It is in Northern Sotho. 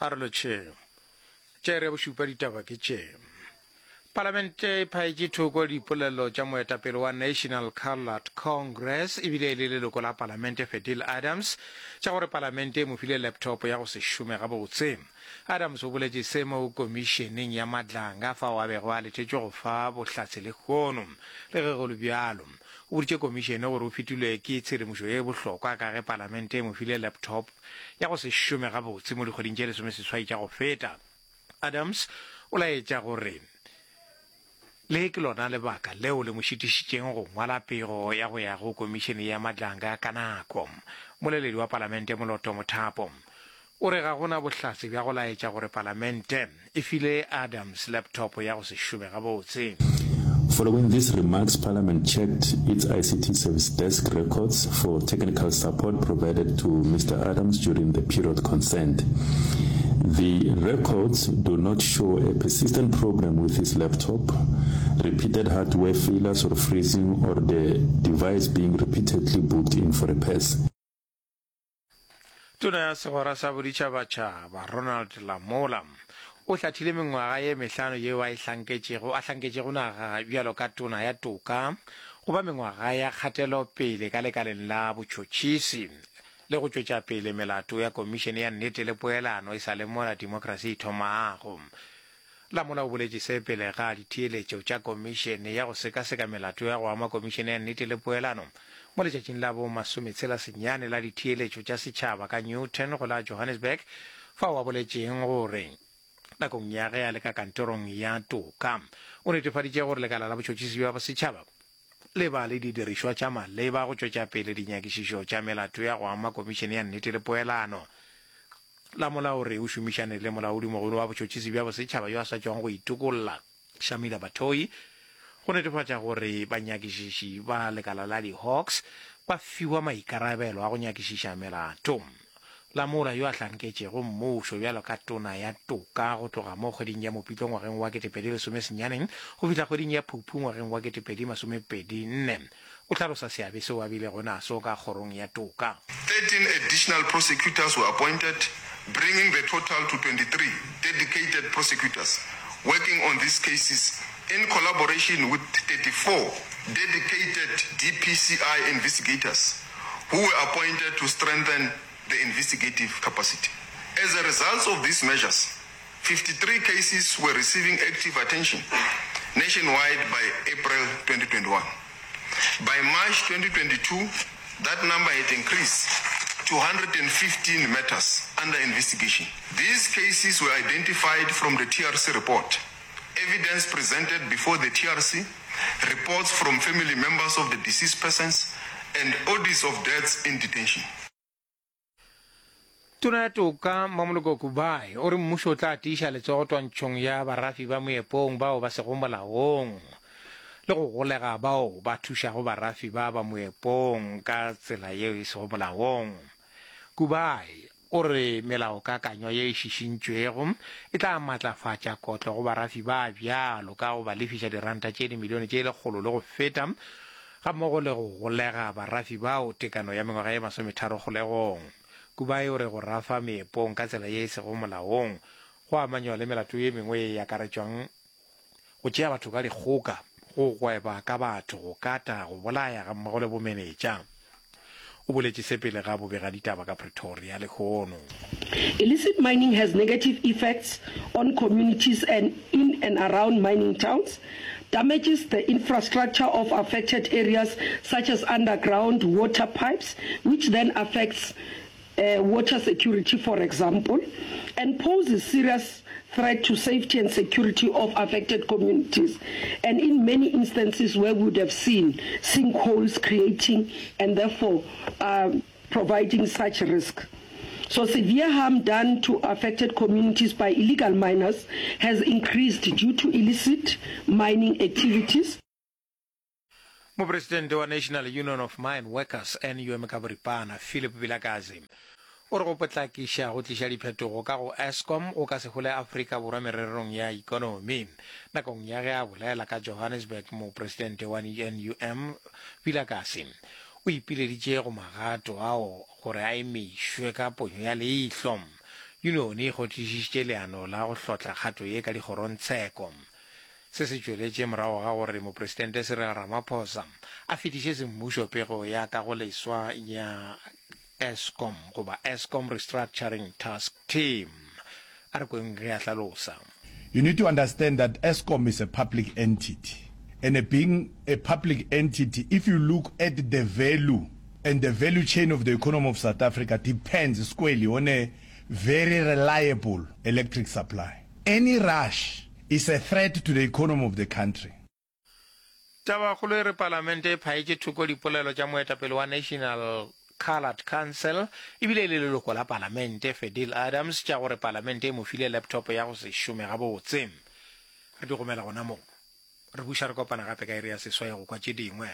A re lotšheng. Tša iri ya bošupa ditaba ke tše. Palamente e phaetše thoko dipolelo tša moetapele wa National Coloured Congress ebile e le leloko la palamente Fadil Adams tša gore palamente e mo file laptop ya go se šome gabotse. Adams o boletše se mo komišeneng ya Madlanga fao a bego a letetšwe go fa bohlatse lehono. Le ge go le bjalo, o boditše komišene gore o fetilwe ke tshedimošo ye bohlokwa ka ge palamente e mo file laptop ya go se šome gabotse mo dikgweding tše lesomeseswai tša go feta. Adams o laetša gore le ke lona lebaka leo le mo šitišitšeng go ngwala pego ya go ya go Komišene ya Madlanga ka nako. Mmoleledi wa Palamente Moloto Mothapo o re ga go na bohlatse bja go laetša gore Palamente e file Adams laptop ya go se šome gabotse. Following these remarks, Parliament checked its ICT service desk records for technical support provided to Mr Adams during the period concerned. The records do not show a persistent problem with his laptop, repeated hardware failures or freezing, or the device being repeatedly booked in for repairs. Tona ya Segwera sa Boditšhabatšhaba Ronald Lamola o hlathile mengwaga ye mehlano yeo a e hlanketšego a hlanketšego naga bjalo ka Tona ya Toka go ba mengwaga ya kgatelopele ka lekaleng la botšhotšhisi le go tšwetša pele melato ya Komišene ya Nnete le Poelano e sa le mola demokrasi e thomago. Lamola o boletše se pele ga ditheeletšo tša komišene ya go sekaseka melato ya go ama Komišene ya Nnete le Poelano mo letšatšing la bo masometshela senyane la ditheeletšo tša setšhaba ka Newton go la Johannesburg fao a boletšeng gore nakong ya ge a le ka kantorong ya toka o netefaditše gore lekala la botšhotšhisi bja bosetšhaba le ba le didirišwa tša maleba go tšwetša pele dinyakišišo tša melato ya go ama Komišene ya Nnete le Poelano. Lamola o re o šomišane le molaodimogolo wa botšhotšhisi bja bosetšhaba yo a sa tšwago go itokolla, Shamila Batohi, go netefatša gore banyakišiši ba lekala la di-Hawks ba fiwa maikarabelo a go nyakišiša melato. Lamola, yo a hlanketšego mmušo bjalo ka tona ya toka go tloga mo kgweding ya Mopitlo ngwageng wa 2019 go fihla kgweding ya Phuphu ngwageng wa 2024, O hlalosa seabe seo a bilego naso ka Kgorong ya Toka. 13 additional prosecutors were appointed, bringing the total to 23 dedicated prosecutors working on these cases in collaboration with 34 dedicated DPCI investigators who were appointed to strengthen the investigative capacity. As a result of these measures, 53 cases were receiving active attention nationwide by April 2021. By March 2022, that number had increased to 115 matters under investigation. These cases were identified from the TRC report, evidence presented before the TRC, reports from family members of the deceased persons, and audits of deaths in detention. Tona ya Toka, Mmamoloko Kubayi, o re mmušo o tla tiiša letsogo twantšhong ya barafi ba moepong bao ba sego molaong le go golega bao ba thušago barafi ba ba moepong ka tsela yeo e sego molaong. Kubayi o re melaokakanywa ye e šišintšwego e tla matlafatša kotlo go barafi ba bjalo ka go ba lefiša diranta tše dimilione tše lekgolo le go feta gammogo le go golega barafi bao tekano ya mengwaga ye masometharo kgolegong. Kubayi o re go rafa meepong ka tsela ye e sego molaong go amanywa le melato ye mengwe ye e akaretšwang go tšea batho ka dikgoka, go gweba ka batho, go kata, go bolaya gammogo le bomenetša. O boletše se pele ga bobegaditaba ka Pretoria lehono. Illicit mining has negative effects on communities and in and around mining towns, damages the infrastructure of affected areas such as underground water pipes, which then affects water security for example, and poses serious threat to safety and security of affected communities, and in many instances where we would have seen sinkholes creating and therefore providing such risk. So severe harm done to affected communities by illegal miners has increased due to illicit mining activities. Mopresidente wa National Union of Mine Workers, NUM ka boripana, Philip Vilakazi, o re go potlakiša go tliša diphetogo ka go Eskom go ka se hole Afrika Borwa mererong ya ikonomi. Nakong ya ge a bolela ka Johannesburg, mopresidente wa NUM, Vilakazi, o ipileditše go magato ao gore a emišwe ka ponyo ya leihlo. Yunione e kgonthišišitše leano la go hlotla kgato ye ka dikgorongtsheko. Se se tšweletše morago ga gore Mopresidente Cyril Ramaphosa a fetiše semmušo pego ya kagoleswa ya Eskom goba Eskom Restructuring Task Team. A re kweng ge a hlalosa. You need to understand that Eskom is a public entity and being a public entity if you look at the value and the value chain of the economy of South Africa depends squarely on a very reliable electric supply. Any rush is a threat to the economy of the country. Tabakgolo e re Palamente e phaetše thoko dipolelo tša moetapele wa National Coloured Council ebile e le leloko la Palamente, Fadil Adams, tša gore Palamente e mo file laptop ya go se šome gabotse. Re di gomela gona mo. Re buša re kopana gape ka iri ya seswai go kwa tše dingwe.